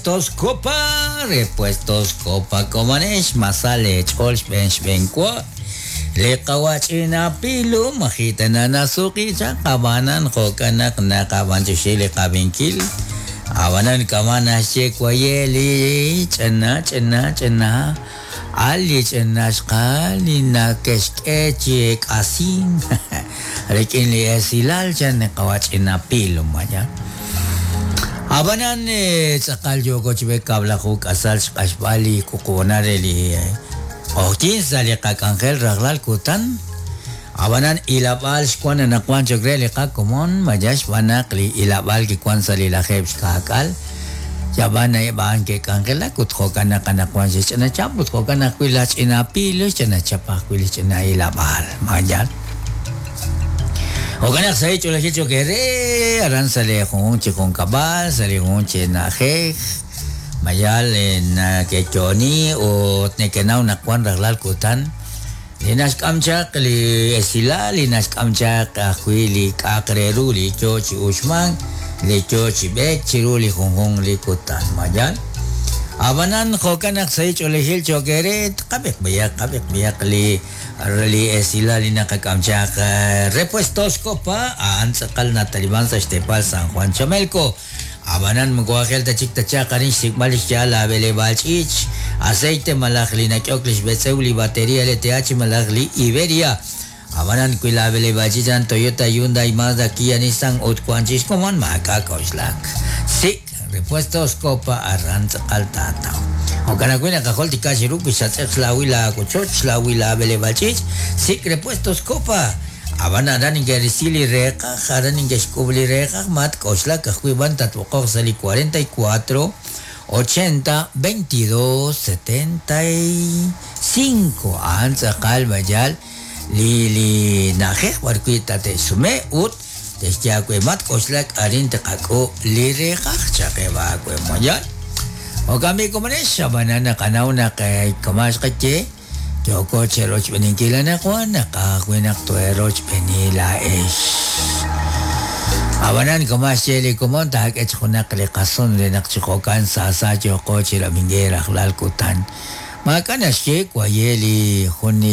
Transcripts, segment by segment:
Repuestos Copa, Repuestos Copa komonex masa leech'ool xb'een xb'een wa. Li qawa' ch'ina pilu maji' tana nasuqi chaq ab'anan jo'kan naq naqab'anyoxi li qab'inkil. Ab'anan kama' naxye waye' li ch'ina ch'ina ch'ina al li ch'ina xqal li nake'xk'e chi eek'asink rik'in li esilal chan li qawa' ch'ina pilu maya. Ab'anan tz'aqal yooko chi b'eek kab'laju k'asal xq'axb'al li wuqub'onal re li q'oqyink sa' li qak'anjel rajlal kutan. Ab'anan ilab'aal xwank anaqwan cho'q re li qakomon, maya xb'aan naq li ilab'aal kiwank sa' li lajeeb' xkaak'al, yab'an eb' a'an ke'k'anjelak ut jo'kan naq anaqwan xe'xch'ina chap ut jo'kan ajwi' laj ch'ina Pilo xch'ina chap ajwi' li xch'ina ilab'aal. Ma yaal? Jo'kan naq sahil ch'oolejil cho'q eere aran sa' li junjunq chi junkab'al, sa' li junjunq chi na'ajej, ma yaal neke'yo'oni ut neke'naw naq wank rajlal kutan li naxk'am chaq li esilal, li naxk'am chaq ajwi' li k'a'aq re ru li yo chi uxmank, li yo chi b'eek chiru li junjunq li kutan. Ma yaal? Ab'anan jo'kan naq sahil ch'oolejil cho'q eere, qab'iq b'ayaq, qab'iq b'ayaq li Li esilal li naqak'am chaq Repuestos Copa a'an tz'aqal nataliman sa' xteepal San Juan Chamelco. Ab'anan moko aajel ta chik ta chaq arin xsik'b'al li xya'al laab'eleb'aal ch'iich, aceite malaj li nak'ehok li xb'etz'ew li bateria LTH malaj li Iberia. Ab'anan wi laab'eleb'aal ch'iich a'an Toyota, Hyundai, Mazda, Kia, Nissan ut wank chik xkomon maak'a' k'oxlak. Sik' Repuestos Copa aran tz'aqal taataw. Jo'kan ajwi' naqajultika chiru wi xatz'eq xlaawil laawochoch, xlaawil laab'eleb'aal ch'iich', sik' Repuestos Copa. Ab'an aran neke'risi li reeqaj, aran neke'xk'ub' li reeqaj, matk'oxlak ajwi' b'an tatb'oqoq sa' li 44 80 22 75. A'an tz'aqal b'ayal li li na'ajej b'arwi' tate'xsume ut te'xye aawe matk'oxlak arin tqak'uub' li reeqaj chaqeb' aawe moyal. Jo'kan b'i' komonex, ab'anan naqanaw naq kama' xqaye yooko cherochb'eeninkil anaqwan naqaj ajwi' naq toheerochb'eeni laa'ex. Ab'anan kama' xye li komon taak'e chi junaq li qason re naq chi jo'kan saasa yooqo chi rab'inkil rajlal kutan. Maak'a' naxye waye' li jun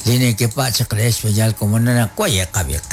li nekepa' chaq re xb'eyal komon naq waye' qab'iq.